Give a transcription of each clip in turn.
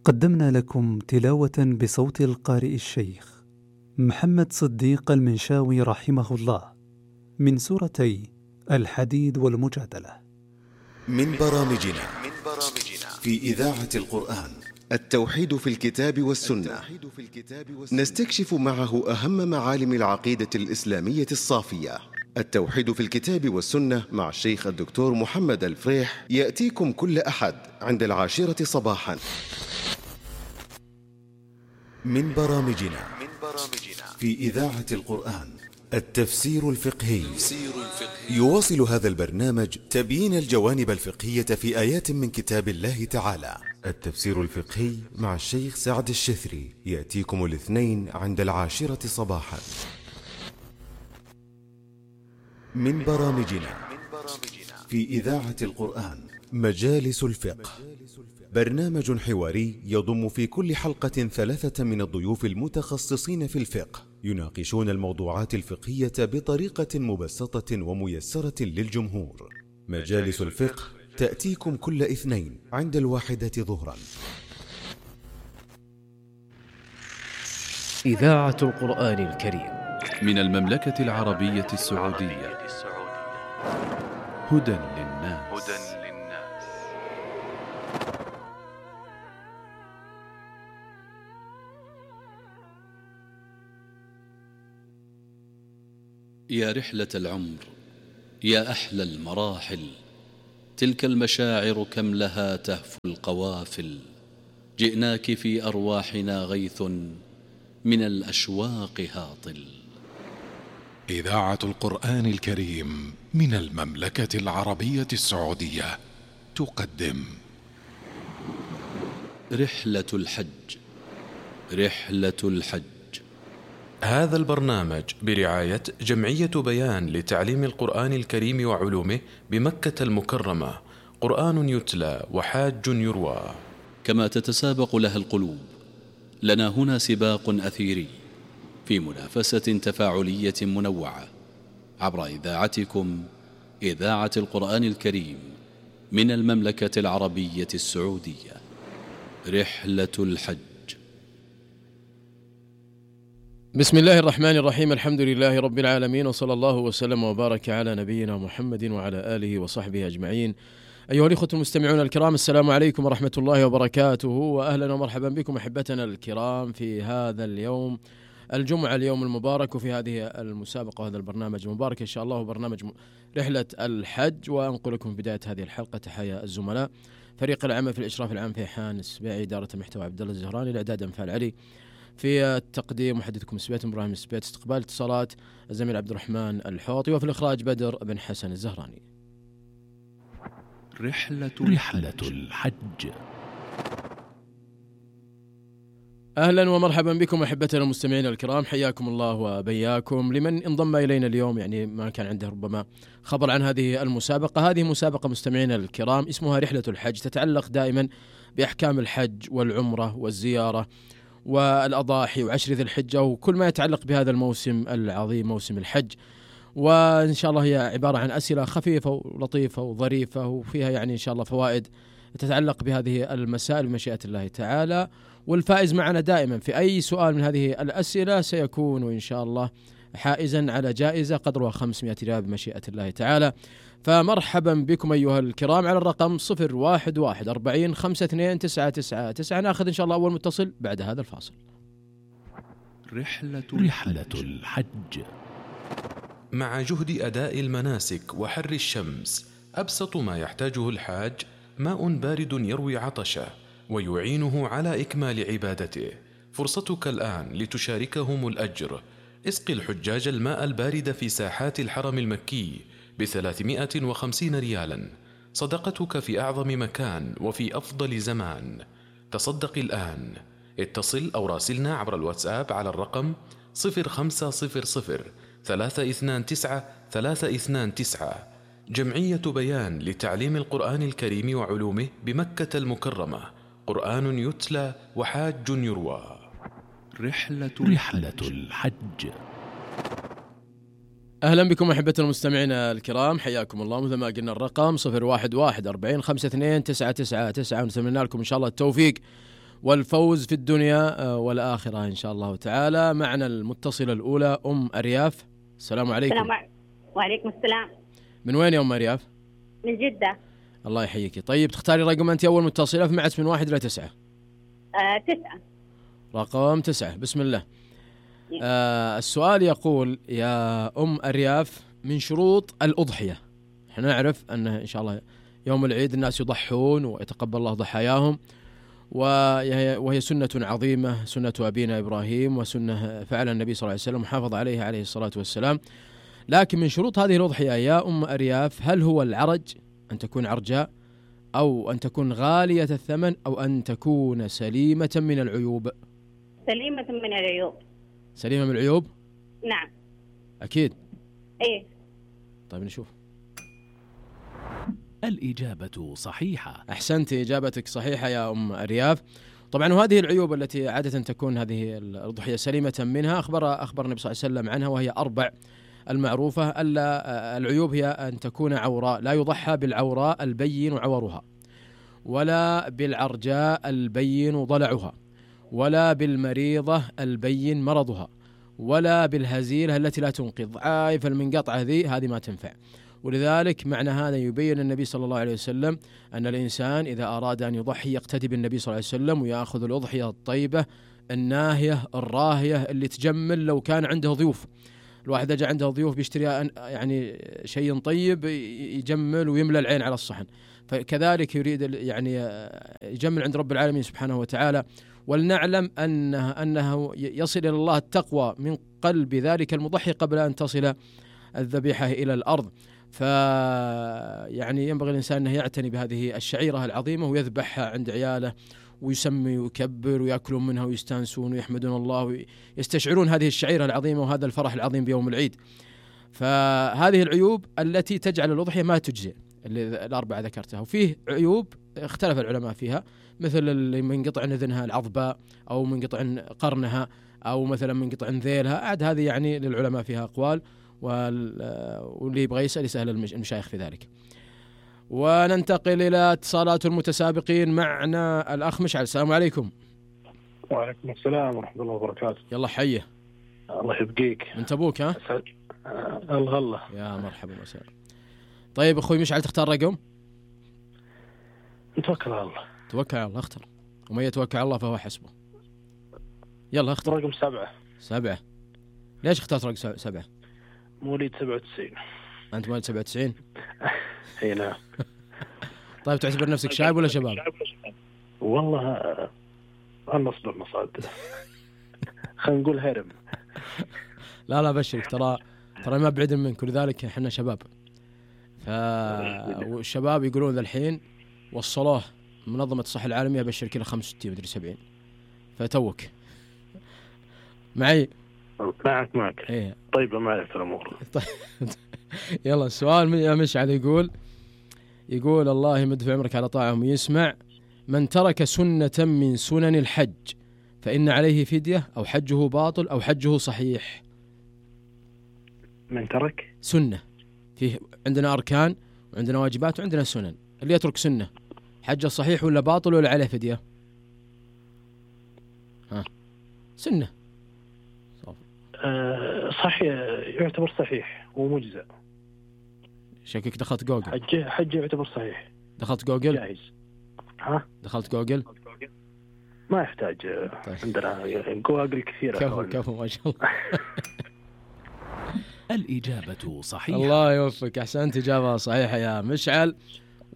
قدمنا لكم تلاوة بصوت القارئ الشيخ محمد صديق المنشاوي رحمه الله من سورتي الحديد والمجادلة. من برامجنا في إذاعة القرآن التوحيد في الكتاب والسنة، نستكشف معه أهم معالم العقيدة الإسلامية الصافية. التوحيد في الكتاب والسنة مع الشيخ الدكتور محمد الفريح يأتيكم كل أحد عند 10 صباحا. من برامجنا في إذاعة القرآن التفسير الفقهي. يواصل هذا البرنامج تبيين الجوانب الفقهية في آيات من كتاب الله تعالى. التفسير الفقهي مع الشيخ سعد الشثري يأتيكم الاثنين عند 10 صباحا. من برامجنا في إذاعة القرآن مجالس الفقه، برنامج حواري يضم في كل حلقة 3 من الضيوف المتخصصين في الفقه، يناقشون الموضوعات الفقهية بطريقة مبسطة وميسرة للجمهور. مجالس الفقه تأتيكم كل اثنين عند 1 ظهرا. إذاعة القرآن الكريم من المملكة العربية السعودية. هدى للناس. يا رحلة العمر، يا أحلى المراحل، تلك المشاعر كم لها تهفو القوافل. جئناك في أرواحنا غيث من الأشواق هاطل. إذاعة القرآن الكريم من المملكة العربية السعودية تقدم رحلة الحج. رحلة الحج. هذا البرنامج برعاية جمعية بيان لتعليم القرآن الكريم وعلومه بمكة المكرمة. قرآن يتلى وحاج يروى. كما تتسابق لها القلوب، لنا هنا سباق أثيري في منافسة تفاعلية منوعة عبر إذاعتكم إذاعة القرآن الكريم من المملكة العربية السعودية. رحلة الحج. بسم الله الرحمن الرحيم. الحمد لله رب العالمين، وصلى الله وسلم وبارك على نبينا محمد وعلى آله وصحبه أجمعين. أيها الإخوة المستمعون الكرام، السلام عليكم ورحمة الله وبركاته، وأهلا ومرحبا بكم أحبتنا الكرام في هذا اليوم الجمعة، اليوم المبارك، وفي هذه المسابقة وهذا البرنامج المبارك إن شاء الله، برنامج رحلة الحج. وأنقل لكم في بداية هذه الحلقة تحايا الزملاء فريق العمل في الإشراف العام فيحان السبيعي، إدارة المحتوى عبد الله الزهراني، الإعداد أنفال علي، في التقديم محدثكم سبيت إبراهيم سبيت، استقبال اتصالات الزميل عبد الرحمن الحوطي، وفي الإخراج بدر بن حسن الزهراني. رحلة الحج. أهلا ومرحبا بكم أحبتنا المستمعين الكرام، حياكم الله وبياكم. لمن انضم إلينا اليوم يعني ما كان عنده ربما خبر عن هذه المسابقة، هذه مسابقة مستمعينا الكرام اسمها رحلة الحج، تتعلق دائما بأحكام الحج والعمرة والزيارة والأضاحي وعشر ذي الحجة وكل ما يتعلق بهذا الموسم العظيم، موسم الحج. وإن شاء الله هي عبارة عن أسئلة خفيفة ولطيفة وظريفة، وفيها يعني إن شاء الله فوائد تتعلق بهذه المسائل بمشيئة الله تعالى. والفائز معنا دائما في أي سؤال من هذه الأسئلة سيكون إن شاء الله حائزا على جائزة قدرها 500 ريال بمشيئة الله تعالى. فمرحبا بكم أيها الكرام على الرقم 011 40 52 999. نأخذ إن شاء الله أول متصل بعد هذا الفاصل. رحلة الحج. مع جهد أداء المناسك وحر الشمس، أبسط ما يحتاجه الحاج ماء بارد يروي عطشه ويعينه على إكمال عبادته. فرصتك الآن لتشاركهم الأجر. اسقي الحجاج الماء البارد في ساحات الحرم المكي ب350 ريالا، صدقتك في أعظم مكان وفي أفضل زمان. تصدق الآن. اتصل أو راسلنا عبر الواتساب على الرقم 0500 329 329. جمعية بيان لتعليم القرآن الكريم وعلومه بمكة المكرمة. قرآن يتلى وحاج يروى. رحلة الحج. أهلا بكم أحبتنا المستمعين الكرام، حياكم الله. مثل ما قلنا الرقم 011 40 52 999، ونتمنى لكم إن شاء الله التوفيق والفوز في الدنيا والآخرة إن شاء الله تعالى. معنا المتصلة الأولى أم أرياف. السلام عليكم. وعليكم السلام. من وين يا أم أرياف؟ من جدة. الله يحييك. طيب تختاري رقم أنت أول متصلة في معت من 1 إلى 9. 9. رقم 9. بسم الله. السؤال يقول يا أم أرياف: من شروط الأضحية، احنا نعرف أنه إن شاء الله يوم العيد الناس يضحون ويتقبل الله ضحاياهم، وهي سنة عظيمة، سنة أبينا إبراهيم، وسنة فعل النبي صلى الله عليه وسلم وحافظ عليها عليه الصلاة والسلام. لكن من شروط هذه الأضحية يا أم أرياف هل هو العرج، أن تكون عرجاء، أو أن تكون غالية الثمن، أو أن تكون سليمة من العيوب؟ سليمة من العيوب. سليمة من العيوب؟ نعم. أكيد. إيه. طيب نشوف. الإجابة صحيحة. أحسنت، إجابتك صحيحة يا أم أرياف. طبعا وهذه العيوب التي عادة تكون هذه الأضحية سليمة منها أخبر النبي صلى الله عليه وسلم عنها، وهي 4 المعروفة. ألا العيوب هي أن تكون عوراء، لا يضحى بالعوراء البين عورها، ولا بالعرجاء البين ضلعها، ولا بالمريضة البين مرضها، ولا بالهزيلة التي لا تنقذ. عايف المنقطعة هذه ما تنفع. ولذلك معنى هذا يبين النبي صلى الله عليه وسلم أن الإنسان إذا أراد أن يضحي يقتدي بالنبي صلى الله عليه وسلم ويأخذ الأضحية الطيبة الناهية الراهية اللي تجمل لو كان عنده ضيوف. الواحد إذا جاء عنده ضيوف بيشتري يعني شيء طيب يجمل ويملى العين على الصحن، فكذلك يريد يعني يجمل عند رب العالمين سبحانه وتعالى. ولنعلم أنه يصل إلى الله التقوى من قلب ذلك المضحي قبل أن تصل الذبيحة إلى الأرض. يعني ينبغي الإنسان أنه يعتني بهذه الشعيرة العظيمة ويذبحها عند عياله ويسمي ويكبر ويأكلون منها ويستانسون ويحمدون الله ويستشعرون هذه الشعيرة العظيمة وهذا الفرح العظيم بيوم العيد. فهذه العيوب التي تجعل الأضحية ما تجزئ اللي الأربعة ذكرتها. وفيه عيوب اختلف العلماء فيها، مثل اللي منقطع أذنها العضباء، أو منقطع قرنها، أو مثلا منقطع ذيلها. عاد هذه يعني للعلماء فيها أقوال، واللي يبغى يسأل المشايخ في ذلك. وننتقل إلى اتصالات المتسابقين. معنا الأخ مشعل. السلام عليكم. وعليكم السلام ورحمة الله وبركاته. يلا حيه. الله يبقيك. من تبوك ها؟ الله يا مرحبا وسهلا. طيب أخوي مشعل تختار رقم؟ نتوكل على الله. توكل على الله. اختر، ومن يتوكل على الله فهو حسبه. يلا اختر. رقم 7. 7. ليش اخترت رقم 7؟ مواليد 97. أنت مواليد 97؟ اي نعم. طيب تعتبر نفسك شايب ولا شباب؟ والله النصب المصاد. خلينا نقول هرم. لا بشرك، ترى ما بعيد منك، ولذلك احنا شباب. والشباب يقولون ذا الحين وصلوه منظمة الصحة العالمية بشر كله 65 مدري 70، فتوك معي. معك. ايه طيب ما أعرف الأمور. طيب يلا السؤال يا مشعل يقول الله يمد في عمرك على طاعهم يسمع: من ترك سنة من سنن الحج فإن عليه فدية، أو حجه باطل، أو حجه صحيح. من ترك سنة، فيه عندنا أركان وعندنا واجبات وعندنا سنن. اللي يترك سنة حجه صحيح ولا باطل ولا عليه فدية؟ سنة صحيح، يعتبر صحيح ومجزأ. شكلك دخلت جوجل. حج يعتبر صحيح. دخلت جوجل؟ جاهز. دخلت جوجل؟ ما يحتاج. طيب. عندنا جوجل كثيرة. كفو ما شاء الله. الإجابة صحيحة. الله يوفقك، أحسنت، إجابة صحيحة يا مشعل.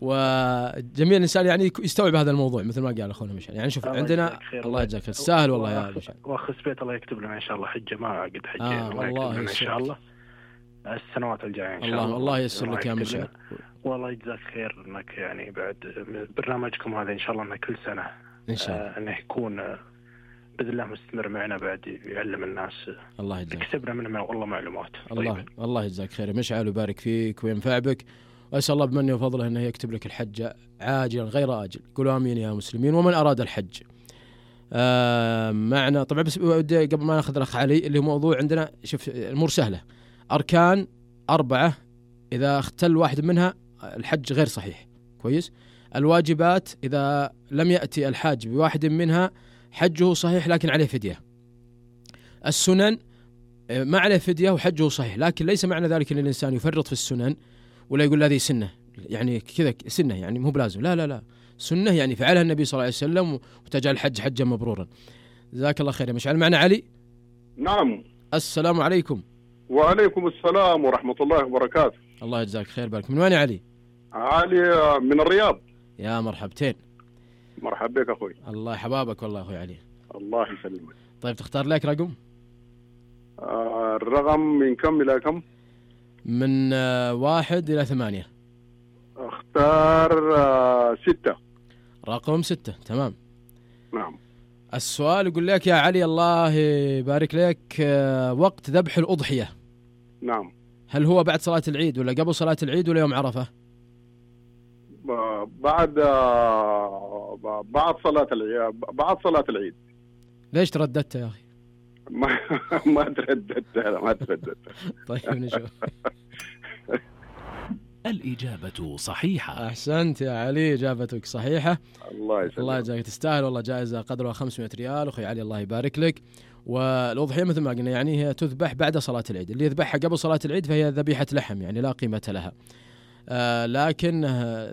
وجميع الإنسان يعني يستوعب هذا الموضوع مثل ما قال أخونا مشعل. يعني شوف عندنا الله يجزاك خير، سهل والله يا مشعل. وأخ سبيت الله يكتب لنا إن شاء الله حجة، ما قد حجة. الله إن شاء الله السنوات الجاية إن شاء الله. الله ييسر لك يا مشعل. والله يجزاك خير إنك يعني بعد برنامجكم هذا إن شاء الله إنه كل سنة إن شاء الله إنه يكون بإذن الله مستمر معنا، بعد يعلم الناس. الله يجزاك. يكسبنا منه والله معلومات. الله يجزاك خير مشعل ويبارك فيك وينفع بك، وأسأل الله بمنه وفضله أنه يكتب لك الحج عاجلا غير آجل. قولوا آمين يا مسلمين. ومن أراد الحج معنا طبعا، بس قبل ما نأخذ الأخ علي اللي هو موضوع عندنا. شوف الأمور سهلة، أركان 4 إذا اختل واحد منها الحج غير صحيح. كويس. الواجبات إذا لم يأتي الحاج بواحد منها حجه صحيح لكن عليه فدية. السنن ما عليه فدية وحجه صحيح، لكن ليس معنى ذلك أن الإنسان يفرط في السنن ولا يقول هذه سنة، يعني كذا سنة يعني مو بلازم، لا لا لا، سنة يعني فعلها النبي صلى الله عليه وسلم وتجعل الحج حجا مبرورا. جزاك الله خير يا مشعل. معنا علي. نعم. السلام عليكم. وعليكم السلام ورحمة الله وبركاته. الله يجزاك خير. بارك. من وين يا علي؟ علي من الرياض. يا مرحبتين. مرحبا بك أخوي. الله يحبابك والله أخوي علي. الله يسلمك. طيب تختار لك رقم؟ الرقم من كم إلى كم؟ من 1 إلى 8. اختار 6. رقم 6. تمام. نعم. السؤال يقول لك يا علي الله يبارك لك، وقت ذبح الأضحية. نعم. هل هو بعد صلاة العيد ولا قبل صلاة العيد ولا يوم عرفة؟ بعد صلاة العيد. ليش ترددت يا أخي؟ ما ترددت. طيب نشوف. الإجابة صحيحة. أحسنت يا علي، إجابتك صحيحة. الله يسلمك. الله يجزاك، تستاهل والله، جائزة قدرها 500 ريال أخي علي، الله يبارك لك. والأضحية مثل ما قلنا يعني هي تذبح بعد صلاة العيد، اللي يذبحها قبل صلاة العيد فهي ذبيحة لحم يعني لا قيمة لها، لكن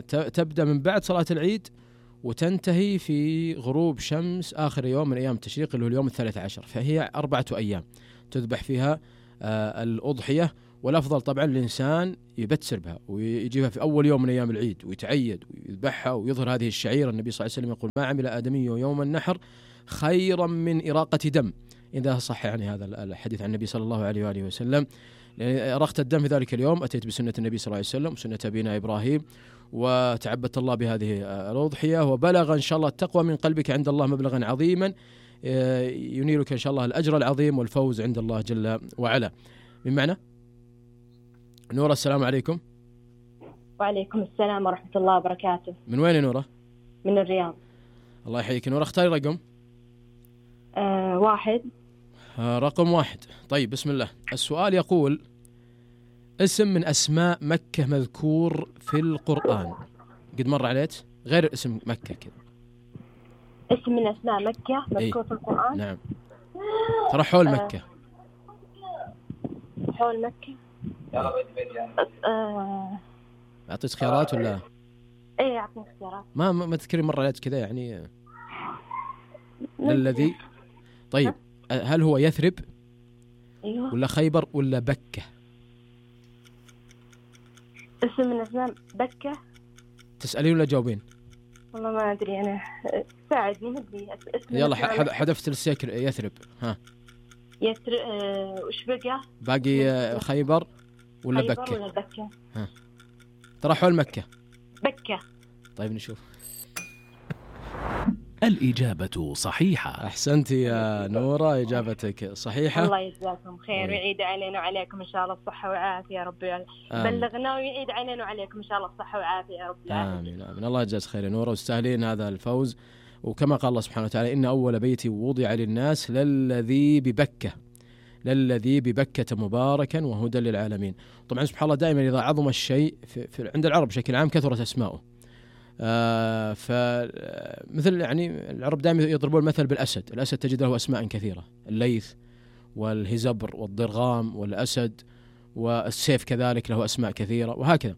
تبدأ من بعد صلاة العيد وتنتهي في غروب شمس آخر يوم من أيام التشريق اللي هو اليوم 13، فهي 4 أيام تذبح فيها الأضحية. والأفضل طبعا الإنسان يبتسر بها ويجيبها في أول يوم من أيام العيد ويتعيد ويذبحها ويظهر هذه الشعيرة. النبي صلى الله عليه وسلم يقول ما عمل آدمي يوم النحر خيرا من إراقة دم، إذا صح يعني هذا الحديث عن النبي صلى الله عليه وآله وسلم. لأن أرقت الدم في ذلك اليوم أتيت بسنة النبي صلى الله عليه وسلم وسنة أبينا إبراهيم وتعبدت الله بهذه الأضحية، وبلغ إن شاء الله التقوى من قلبك عند الله مبلغا عظيما ينيلك إن شاء الله الأجر العظيم والفوز عند الله جل وعلا. من معنا؟ نورة. السلام عليكم. وعليكم السلام ورحمة الله وبركاته. من وين نورة؟ من الرياض. الله يحييك نورة. اختاري رقم. 1. رقم 1. طيب بسم الله. السؤال يقول اسم من أسماء مكة مذكور في القرآن. قد مر عليك غير اسم مكة كذا. اسم من أسماء مكة مذكور في القرآن. نعم. ترى حول مكة. حول مكة. أعطيك خيارات ولا؟ إيه أعطيني خيارات. ما تذكري مرة عليك كذا يعني. للذي. طيب هل هو يثرب؟ أيوه. ولا خيبر ولا بكة؟ اسم من أسماء بكة. تسألين ولا جاوبين؟ والله ما أدري أنا، ساعدني هدي. يلا حذفت السكر. يثرب. ها. يثرب. وش بقى؟ باقي خيبر ولا خيبر بكة؟ ولا بكة؟ ها. ترى حول مكة. بكة. طيب نشوف. الإجابة صحيحة. أحسنتي يا نورة، إجابتك صحيحة. الله يجزاكم خير ويعيد علينا وعليكم إن شاء الله الصحة والعافية يا رب. بلغنا ويعيد علينا وعليكم إن شاء الله الصحة والعافية يا رب العالمين. آمين. الله يجزاك خير يا نورة، وتستاهلين هذا الفوز. وكما قال الله سبحانه وتعالى إن أول بيت وضع للناس للذي ببكة، للذي ببكة مباركا وهدى للعالمين. طبعا سبحان الله دائما إذا عظم الشيء عند العرب بشكل عام كثرت أسماؤه. فمثل يعني العرب دائما يضربون المثل بالأسد. الأسد تجد له أسماء كثيرة، الليث والهزبر والضرغام والأسد، والسيف كذلك له أسماء كثيرة وهكذا.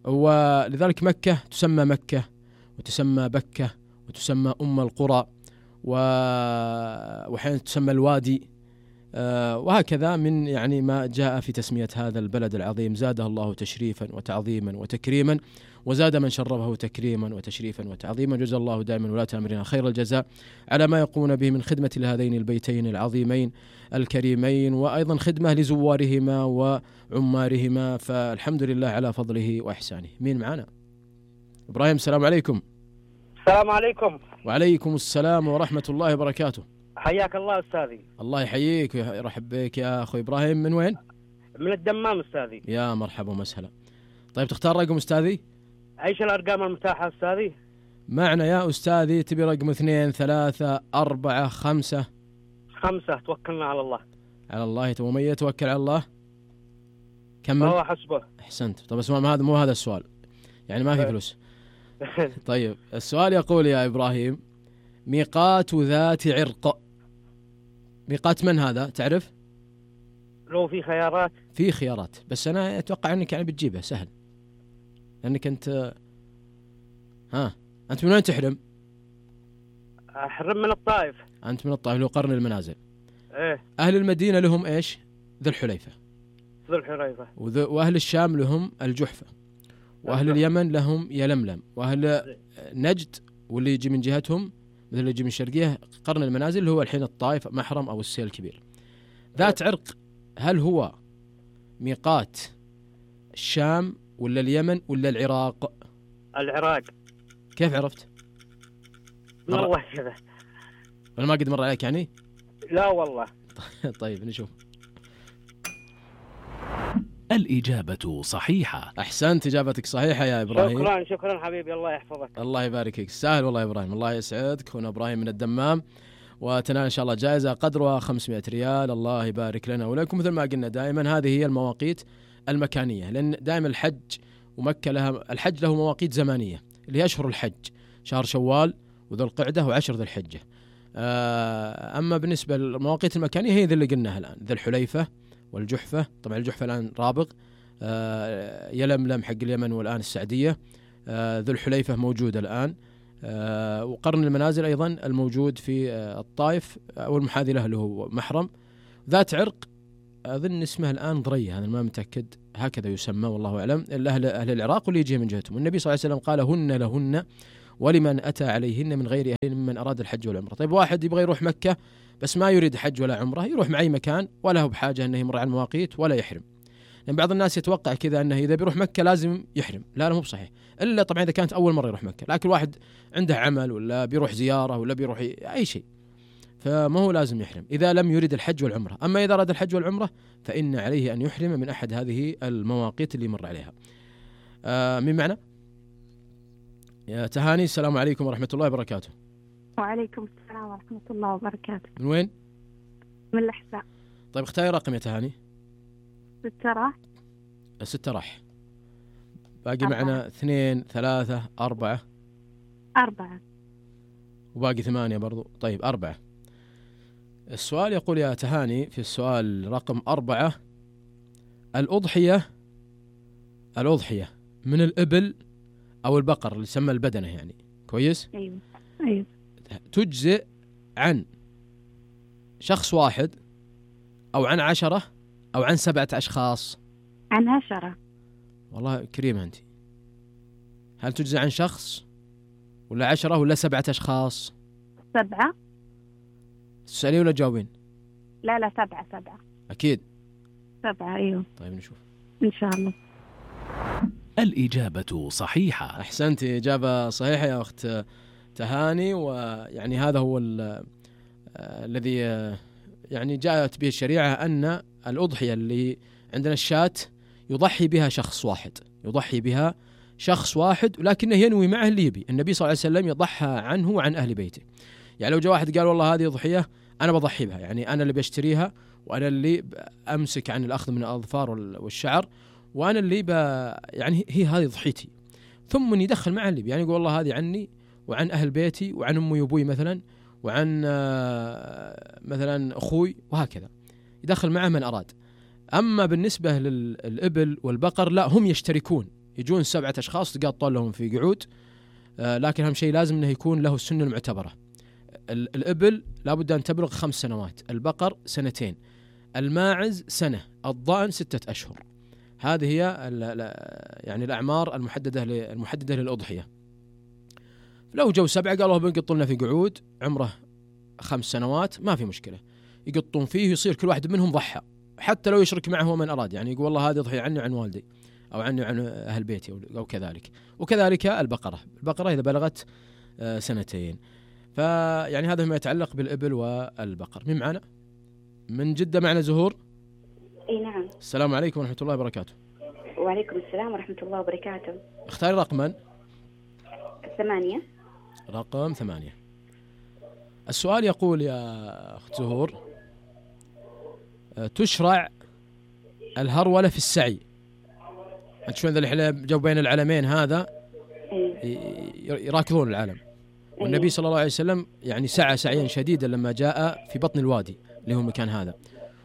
ولذلك مكة تسمى مكة وتسمى بكة وتسمى أم القرى وحين تسمى الوادي، وهكذا من يعني ما جاء في تسمية هذا البلد العظيم. زاده الله تشريفا وتعظيما وتكريما، وزاد من شرفه تكريما وتشريفا وتعظيما. جزا الله دائما ولاة أمرنا خير الجزاء على ما يقومون به من خدمة لهذين البيتين العظيمين الكريمين، وأيضا خدمة لزوارهما وعمارهما، فالحمد لله على فضله وإحسانه. مين معنا؟ إبراهيم. السلام عليكم. السلام عليكم. وعليكم السلام ورحمة الله وبركاته. حياك الله أستاذي. الله يحييك ويرحب بك يا أخوي إبراهيم. من وين؟ من الدمام أستاذي. يا مرحبا ومسهلا. طيب تختار رقم أستاذي؟ أيش الأرقام المتاحة أستاذي؟ معنا يا أستاذي تبي رقم 2 3 4 5؟ 5. توكلنا على الله. على الله. ومن يتوكل على الله كمل. هو حسبه. أحسنت. طب اسمع، مو هذا السؤال يعني ما في فلوس. طيب السؤال يقول يا إبراهيم: ميقات ذات عرق، ميقات من هذا تعرف؟ لو في خيارات. في خيارات، بس أنا أتوقع أنك يعني بتجيبه سهل، لأنك أنت أنت من وين تحرم؟ أحرم من الطائف. أنت من الطائف، لو قرن المنازل. إيه. أهل المدينة لهم إيش؟ ذو الحليفة. ذو الحليفة. وأهل الشام لهم الجحفة، وأهل اليمن لهم يلملم، وأهل نجد واللي يجي من جهتهم مثل اللي يجي من الشرقية قرن المنازل اللي هو الحين الطائف محرم أو السيل الكبير. ذات عرق هل هو ميقات الشام ولا اليمن ولا العراق؟ العراق. كيف عرفت؟ والله كذا. ولا ما قد مر عليك يعني؟ لا والله. طيب نشوف. الإجابة صحيحة. أحسنت، إجابتك صحيحة يا إبراهيم. شكرا حبيبي، الله يحفظك. الله يبارك فيك، سهل والله يا إبراهيم. الله يسعدك. هنا إبراهيم من الدمام، وتنال إن شاء الله جائزة قدرها 500 ريال. الله يبارك لنا ولكم. مثل ما قلنا دائما هذه هي المواقيت المكانية، لأن دائما الحج ومكة الحج له مواقيت زمانية اللي هي أشهر الحج، شهر شوال وذو القعدة وعشر ذي الحجة. أما بالنسبة للمواقيت المكانية هي ذي اللي قلناها الآن: ذي الحليفة والجحفة. طبعا الجحفة الآن رابغ، يلملم حق اليمن والآن السعدية، ذو الحليفة موجود الآن، وقرن المنازل أيضا الموجود في الطائف والمحاذي له اللي هو محرم. ذات عرق أظن اسمها الآن ضرية، أنا ما متأكد، هكذا يسمى والله أعلم. أهل العراق واللي يجي من جهتهم. والنبي صلى الله عليه وسلم قال: هن لهن ولمن أتى عليهن من غير أهل ممن أراد الحج والعمرة. طيب واحد يبغى يروح مكة بس ما يريد حج ولا عمرة، يروح مع أي مكان ولا هو بحاجة أنه يمر على المواقيت ولا يحرم. لأن بعض الناس يتوقع كذا أنه إذا بيروح مكة لازم يحرم. لا مو بصحيح، إلا طبعا إذا كانت أول مرة يروح مكة. لكن واحد عنده عمل ولا بيروح زيارة ولا بيروح أي شيء فما هو لازم يحرم إذا لم يريد الحج والعمرة. أما إذا أراد الحج والعمرة فإن عليه أن يحرم من أحد هذه المواقيت اللي مر عليها. من معنا؟ يا تهاني، السلام عليكم ورحمة الله وبركاته. وعليكم السلام ورحمة الله وبركاته. من وين؟ من الأحساء. طيب اختاري رقم يا تهاني. 6 راح. 6 راح. باقي معنا 2 3 4. 4. وباقي 8 برضو. طيب 4. السؤال يقول يا تهاني في السؤال رقم 4: الأضحية من الإبل أو البقر اللي يسمى البدنة يعني، كويس؟ أيوه. تجزئ عن شخص واحد أو عن 10 أو عن 7 أشخاص؟ عن 10. والله كريمة أنت. هل تجزئ عن شخص ولا 10 ولا 7 أشخاص؟ 7. تسألي ولا تجاوبين؟ لا 7. أكيد 7. أيوه. طيب نشوف إن شاء الله. الإجابة صحيحة. أحسنتي، إجابة صحيحة يا أخت تهاني. ويعني هذا هو الذي يعني جاءت به الشريعة، أن الأضحية اللي عندنا الشاة يضحي بها شخص واحد ولكنه ينوي معه اللي يبي. النبي صلى الله عليه وسلم يضحى عنه وعن أهل بيته. يعني لو جاء واحد قال والله هذه أضحية أنا بضحي بها، يعني أنا اللي بشتريها وأنا اللي أمسك عن الأخذ من الأظفار والشعر وأنا اللي يعني هي هذه ضحيتي، ثم يدخل معه اللي يعني يقول والله هذه عني وعن أهل بيتي وعن أمي وأبوي مثلا وعن مثلا أخوي، وهكذا يدخل معه من أراد. أما بالنسبة للإبل والبقر لا، هم يشتركون، يجون 7 أشخاص تقاطون لهم في قعود، لكن أهم شيء لازم أنه يكون له السنة المعتبرة. الإبل لابد أن تبلغ 5 سنوات، البقر 2 سنين، الماعز 1 سنة، الضأن 6 أشهر. هذه هي يعني الأعمار المحددة للأضحية. لو جو 7 قالوا بنقط لنا في قعود عمره 5 سنوات ما في مشكلة، يقطون فيه يصير كل واحد منهم ضحى، حتى لو يشرك معه من أراد، يعني يقول والله هذه ضحية عني وعن والدي أو عني وعن أهل بيتي أو كذلك. وكذلك البقرة إذا بلغت 2 سنين. فيعني هذا ما يتعلق بالإبل والبقر. من معنا؟ من جدة معنا زهور. اي نعم. السلام عليكم ورحمة الله وبركاته. وعليكم السلام ورحمة الله وبركاته. اختاري رقما. 8. رقم 8. السؤال يقول يا أخت زهور: تشرع الهرولة في السعي. أنت شلون ذا الحلا جو بين العلمين هذا؟ يراكضون العالم. والنبي صلى الله عليه وسلم يعني سعى سعيا شديدا لما جاء في بطن الوادي اللي هو المكان هذا،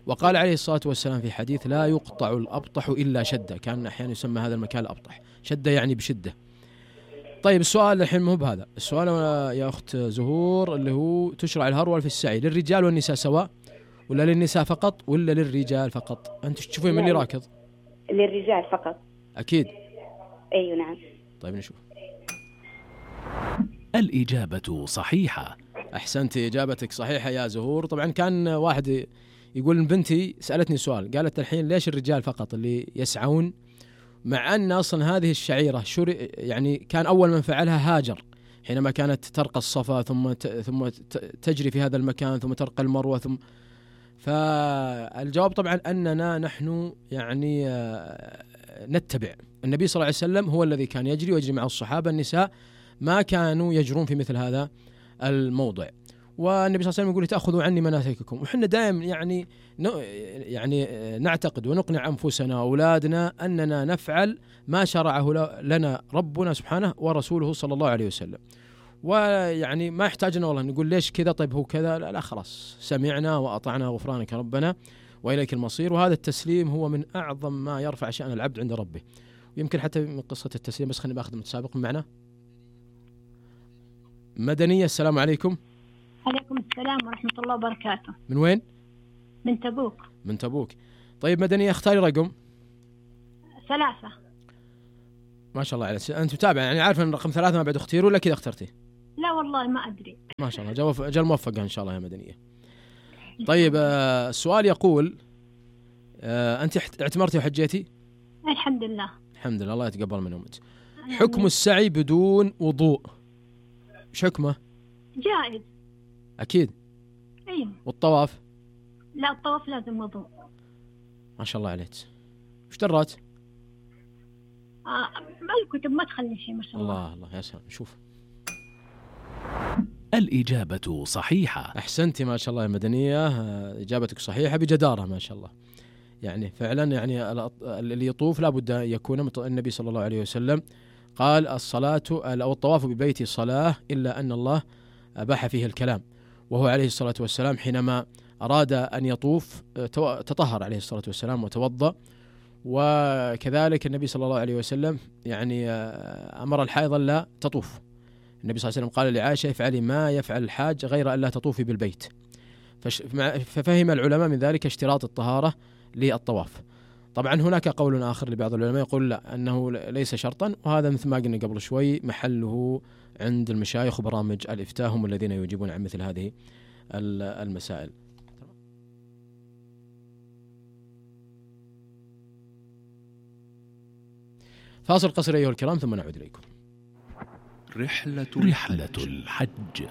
وقال عليه الصلاة والسلام في حديث: لا يقطع الأبطح إلا شدة. كان أحيانا يسمى هذا المكان الأبطح، شدة يعني بشدة. طيب السؤال الحين مو بهذا السؤال يا أخت زهور، اللي هو تشرع الهرول في السعي للرجال والنساء سواء، ولا للنساء فقط، ولا للرجال فقط؟ أنت تشوفين من اللي راكض؟ للرجال فقط. أكيد. أيوة نعم. طيب نشوف. الإجابة صحيحة. أحسنتي، إجابتك صحيحة يا زهور. طبعا كان واحد يقول: بنتي سألتني سؤال، قالت الحين ليش الرجال فقط اللي يسعون، مع أن أصلا هذه الشعيرة يعني كان أول من فعلها هاجر حينما كانت ترقى الصفا ثم تجري في هذا المكان ثم ترقى المروة ثم. فالجواب طبعا أننا نحن يعني نتبع النبي صلى الله عليه وسلم، هو الذي كان يجري ويجري مع الصحابة. النساء ما كانوا يجرون في مثل هذا الموضع. والنبي صلى الله عليه وسلم يقول: تأخذوا عني مناسككم. وحنا دائما يعني نعتقد ونقنع أنفسنا وأولادنا أننا نفعل ما شرعه لنا ربنا سبحانه ورسوله صلى الله عليه وسلم. ويعني ما يحتاجنا والله نقول ليش كذا، طيب هو كذا، لا خلاص سمعنا وأطعنا غفرانك ربنا وإليك المصير. وهذا التسليم هو من أعظم ما يرفع شأن العبد عند ربه. ويمكن حتى من قصة التسليم، بس خلينا باخذ متسابق معنا. مدنية، السلام عليكم. عليكم السلام ورحمة الله وبركاته. من وين؟ من تبوك. من تبوك. طيب مدنية، اختاري رقم. 3. ما شاء الله عليك، أنت متابعة يعني عارفة أن رقم 3 ما بعد اختير ولا كذا اخترتي؟ لا والله ما أدري. ما شاء الله، جل موفقة إن شاء الله يا مدنية. طيب السؤال يقول: أنت اعتمرتي وحجيتي؟ الحمد لله. الحمد لله، الله يتقبل من أمك. حكم السعي بدون وضوء ايش حكمه؟ جائز. أكيد. أيوة. والطواف؟ لا، الطواف لازم وضوء. ما شاء الله عليك. وش درات؟ ما الكتب ما تخلي شيء ما شاء الله. الله يا سلام. شوف، الإجابة صحيحة. أحسنتي ما شاء الله يا مدنية، إجابتك صحيحة بجدارة ما شاء الله. يعني فعلا يعني اللي يطوف لابد أن يكون النبي صلى الله عليه وسلم قال: الصلاة أو الطواف ببيتي صلاة إلا أن الله أباح فيه الكلام. وهو عليه الصلاة والسلام حينما أراد أن يطوف تطهر عليه الصلاة والسلام وتوضأ. وكذلك النبي صلى الله عليه وسلم يعني أمر الحائض لا تطوف. النبي صلى الله عليه وسلم قال لعائشة: افعلي ما يفعل الحاج غير أن لا تطوفي بالبيت. ففهم العلماء من ذلك اشتراط الطهارة للطواف. طبعا هناك قول آخر لبعض العلماء يقول لا، أنه ليس شرطا، وهذا مثل ما قلنا قبل شوي محله عند المشايخ وبرامج الإفتاء، هم الذين يجيبون عن مثل هذه المسائل. فاصل قصير أيها الكرام ثم نعود إليكم. رحلة الحج.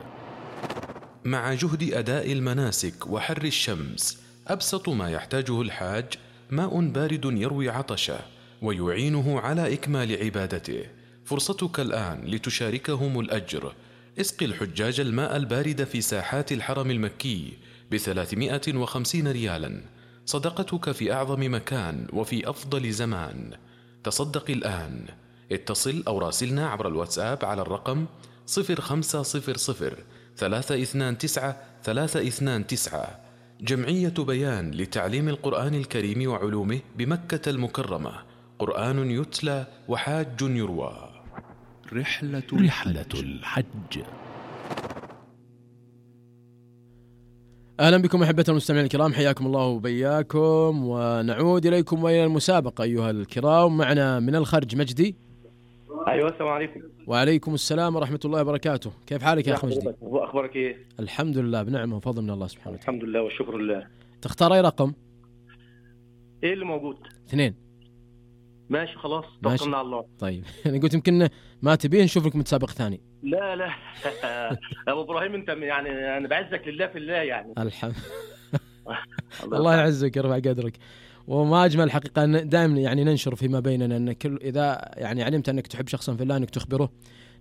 مع جهد أداء المناسك وحر الشمس، أبسط ما يحتاجه الحاج ماء بارد يروي عطشه ويعينه على إكمال عبادته. فرصتك الآن لتشاركهم الأجر. اسقي الحجاج الماء البارد في ساحات الحرم المكي ب350 ريالا، صدقتك في أعظم مكان وفي أفضل زمان. تصدق الآن. اتصل أو راسلنا عبر الواتساب على الرقم 0500 329 329. جمعية بيان لتعليم القرآن الكريم وعلومه بمكة المكرمة. قرآن يتلى وحاج يروى. رحلة الحج. أهلا بكم أحبة المستمعين الكرام، حياكم الله وبياكم، ونعود إليكم وإلى المسابقة أيها الكرام. معنا من الخرج مجدي. أيوة، السلام عليكم. وعليكم السلام ورحمة الله وبركاته. كيف حالك يا أخ مجدي؟ أخبارك إيه؟ الحمد لله بنعمة وفضل من الله سبحانه وتعالى. الحمد لله والشكر لله. تختار أي رقم؟ إيه اللي موجود؟ 2. ماشي خلاص، توكلنا على الله. طيب أنا قلت يمكن ما تبيه نشوف لك متسابق ثاني. لا لا أبو إبراهيم أنت يعني أنا بعزك لله في الله يعني. الحمد الله يعزك يرفع قدرك. وما أجمل حقيقة أن دائما يعني ننشر فيما بيننا أن كل إذا يعني علمت أنك تحب شخصا في الله أنك تخبره،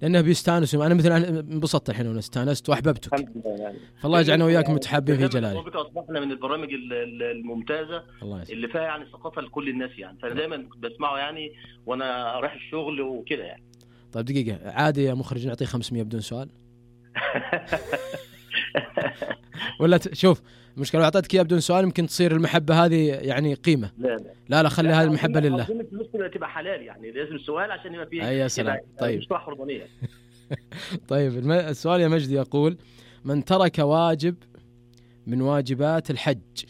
لأنه بيستانس. أنا مثلا انبسطت الحين وأنا استانست وأحببتك. الحمد لله يعني. فالله يجعلنا وياك متحابين في جلاله. أصبحنا من البرامج الممتازة اللي فيها يعني ثقافة لكل الناس يعني، فأنا دائما بسمعه يعني وأنا رايح الشغل وكده يعني. طيب دقيقة، عادي يا مخرج نعطيه 500 بدون سؤال؟ ولا شوف المشكلة لو أعطيتك إياه بدون سؤال يمكن تصير المحبة هذه يعني قيمة. لا خلي هذه المحبة لله. المسلم تبقى حلال يعني، لازم سؤال عشان يبقى فيه. يا سلام. طيب مش حرمانية. طيب السؤال يا مجدي يقول: من ترك واجب من واجبات الحج،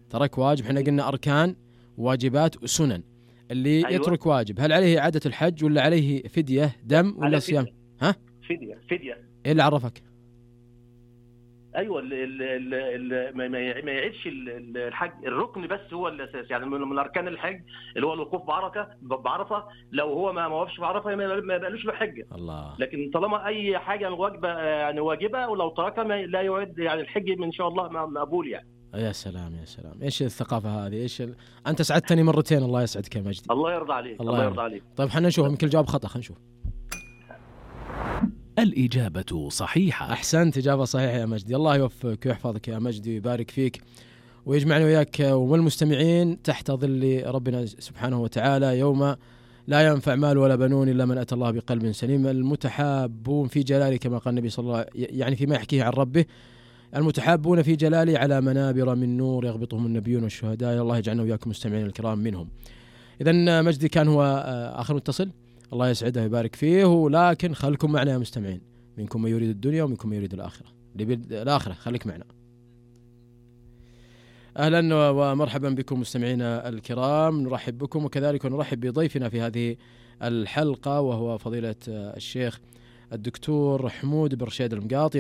ترك واجب، احنا قلنا أركان واجبات وسنن، اللي أيوة. يترك واجب هل عليه إعادة الحج ولا عليه فدية دم ولا صيام؟ ها؟ فدية. إيه اللي عرفك؟ ايوه ما يعيدش الحج، الركن بس هو الاساس يعني من اركان الحج اللي هو الوقوف بعرفه، لو هو ما وقفش بعرفه ما يبقالوش له حجه. الله. لكن طالما اي حاجه واجبه يعني واجبه ولو تركها لا يعد يعني الحج ان شاء الله مقبول يعني. يا سلام يا سلام، ايش الثقافه هذه؟ ايش انت سعدتني مرتين، الله يسعدك يا مجدي. الله يرضى عليك. الله يرضى عليك. طيب خلينا نشوف يمكن الجواب خطا، خلينا نشوف. الإجابة صحيحة. أحسنت، إجابة صحيحة يا مجدي. الله يوفقك ويحفظك يا مجدي ويبارك فيك ويجمعنا وياك والمستمعين تحت ظل ربنا سبحانه وتعالى يوم لا ينفع مال ولا بنون إلا من أتى الله بقلب سليم. المتحابون في جلاله كما قال النبي صلى الله عليه وسلم، يعني فيما يحكيه عن ربه: المتحابون في جلاله على منابر من نور يغبطهم النبيون والشهداء. الله يجعلنا وياكم مستمعين الكرام منهم. إذن مجدي كان هو آخر متصل، الله يسعده ويبارك فيه. ولكن خلكم معنا يا مستمعين، منكم من يريد الدنيا ومنكم من يريد الآخرة. الآخرة خليك معنا. أهلا ومرحبا بكم مستمعينا الكرام، نرحب بكم وكذلك نرحب بضيفنا في هذه الحلقة وهو فضيلة الشيخ الدكتور حمود بن رشيد المقاطي